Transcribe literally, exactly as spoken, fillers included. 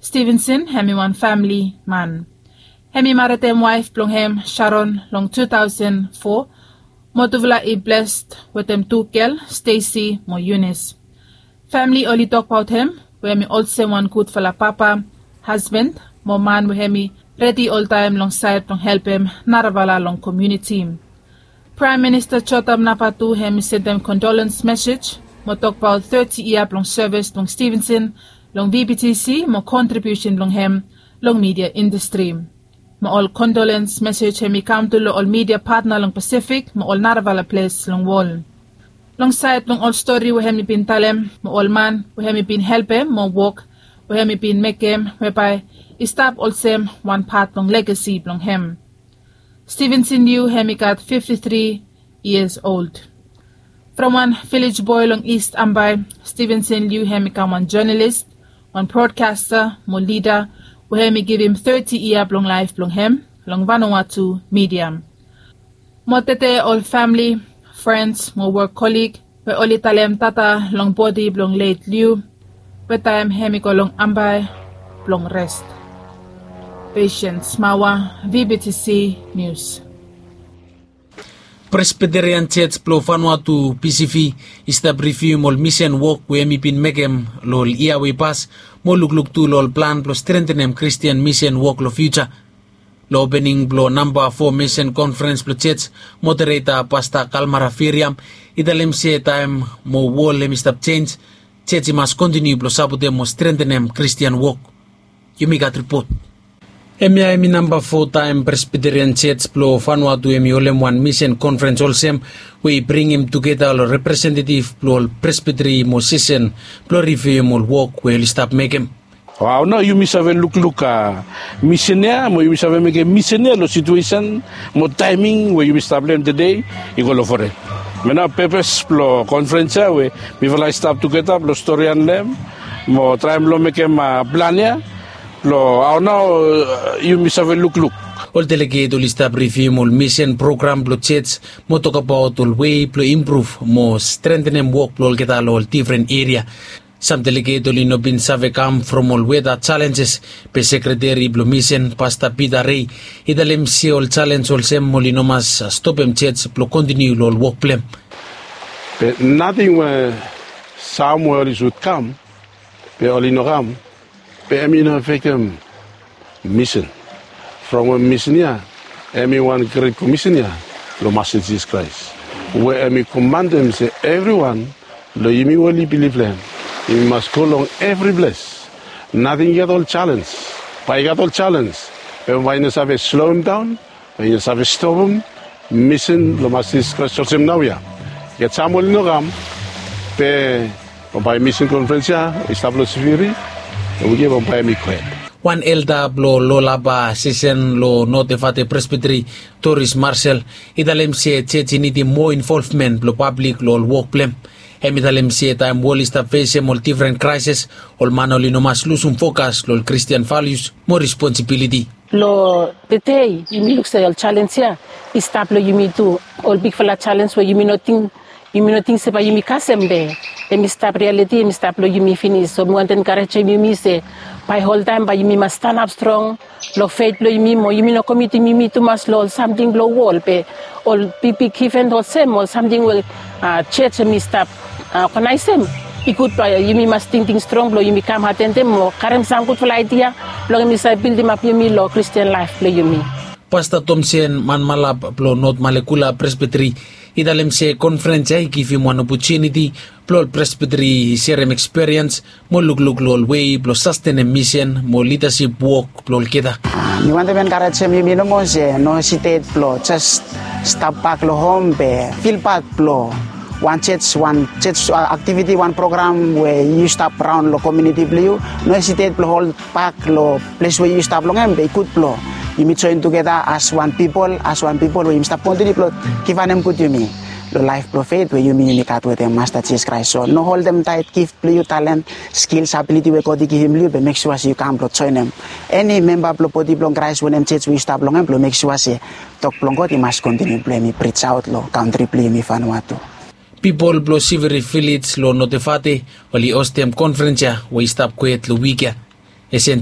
Stevenson hem i wan famili man. Hem i maretem waef blong hem, Sharon, long two thousand four, mo tufala i blessed wetem tu gel, Stacy mo Eunice. Famili oli tokbaot hem we hem i olsem wan gudfala papa, hasband, mo man we hem i redi oltaem long saed blong helpem narafala long komuniti. Praem Minista Jotham Napat tu hem i sendem condolence mesej mo tokbaot thirty yia blong sevis blong Stevenson long V B T C mo kontribiusen blong hem long midia indastri. Mo ol condolence mesej hem i kam tu long ol midia patna long Pasifik mo ol narafala ples long wol. Long saed blong ol stori we hem i bin talem mo ol man we hem i bin helpem mo wok we hem i bin mekem, we bae i stap olsem wan pat blong legasi blong hem. Stevenson Liu hem i gat fifty three years old. From wan vilej boe long East Ambae, Stevenson Liu hem i kam wan jonalis, wan brodkasta mo lida we hem i givim thirty yia blong laef blong hem long Vanuatu midia. Mo tede ol famili, frens mo wok kolig we oli talem tata long bodi blong let Liu we taem hem i go long Ambae blong res. Patience Mawa, V B T C News. Presbyterian Church blong Vanuatu, P C V, i stap rivium ol misen wok we hem i bin mekem long ol yia we i pas mo lukluk tu long ol plan blong strentenem Kristian misen wok long fiuja. Long opening blong namba fo misen konferens blong church, modereta Pasta Kalmara Firiam i talem se taem mo wol hem i stap jenj, church i mas kontiniu blong sapotem mo strentenem Kristian wok. Yumi gat ripot. Hemia hem i namba fo taem Presbyterian Church blong Vanuatu hem i holem wan misen konferens olsem we i bringim tugeta ol representetif blong ol presbiteri mo sesen blong rivium ol wok we oli stap mekem. Hao nao yumi save lukluk misen ya mo yumi save mekem misen ya long situesen mo taeming we yumi stap long hem tede i go long foren. Hemia nao pepes blong konferens ya we mifala i stap tugeta blong storian long hem mo traem blong mekem plan ya blong hao nao yumi save lukluk. Ol deleget oli stap rivium ol misen program blong church mo tokbaot ol wei blong impruv mo strentenem wok blong olgeta long ol difren eria. Sam deleget oli no bin save kam from ol weta jalenjes, be sekreteri blong misen, Pasta Pita Rei, i talem se ol jalenj olsem oli no mas stopem church blong kontiniu long ol wok blong hem. Be nating we sam we oli sud kam, be oli no kam, be hem i no afektem misen. From we misen ya hem i wan gret komisen ya blong Masta Jisas Kraes, we hem i komantem se evriwan long yumi we oli bilif long hem, yumi mas go long evri ples. Nating i gat ol jalenj. Bae i gat ol jalenj, be bae i no save sloem daon, bae i no save stopem misen blong Masta Jisas Kraes olsem naoia. I gat sam we oli no kam, be bambae misen konferens ya i stap long Sibiri, long wik ya bambae hem i kwet. Wan elda blong Lolaba sesen long North Efate Presbytery, Doris Marshall, i talem se church i nidim moa involvmen blong pablik long ol wok blong hem. Hem i talem se taem wol i stap fesem ol difren kraeses, ol man oli no mas lusum fokas long ol Kristian valius mo responsibiliti. Long tede yumi luk se ol jalenj ya i stap long yumi tu. Ol bigfala jalenj we yumi no ting, yumi no ting se bae yumi kasem, be hem i stap rialiti, hem i stap long yumi finis. So mi wantem enkarejem yumi se bae oltaem bae yumi mas stanap strong long fet blong yumi mo yumi no komitim yumi tumas long ol samting blong wol, be ol bigbig iven olsem, ol samting we church hem i stap oganaesem, i gud bae yumi mas tingting strong blong yumi kam atendem mo karem sam gudfala aedia blong hem i save bildimap yumi long Kristian laef blong yumi. Pasta Tomsen Manmalap blong North Malekula Presbytery i talem se konferens ya i givim wan opotuniti blong ol presbytery i serem ekspiriens mo lukluk long ol wei blong sastenem misen mo lidasip wok blong olgeta. Mi wantem enkarejem yumi nomo se no hesitet blong jes stap bak long hom be fil pat blong wan church, wan church aktiviti, wan program we yu stap raon long komuniti blong yu. No hesitet blong holbak long ples we yu stap long hem, be i gud blong yumi joen tugeta as wan pipol, as wan pipol we yumi stap kontiniu blong givim wanem gud yumi long laef blong fet we yumi yumi gat wetem Masta Jisas Kraes. So no holdem taet gif blong yu, talen, skils, abiliti we God i givim long yu, be mek sua se yu kam blong joenem eni memba blong bodi blong Kraes, wanem church we yu stap long hem, blong mek sua se tok blong God i mas kontiniu blong hem i prij aot long kantri blong yumi Vanuatu. Pipol blong Sibiri Vilej long North Efate oli hostem konferens ya we i stap kwet long wik ya. Esen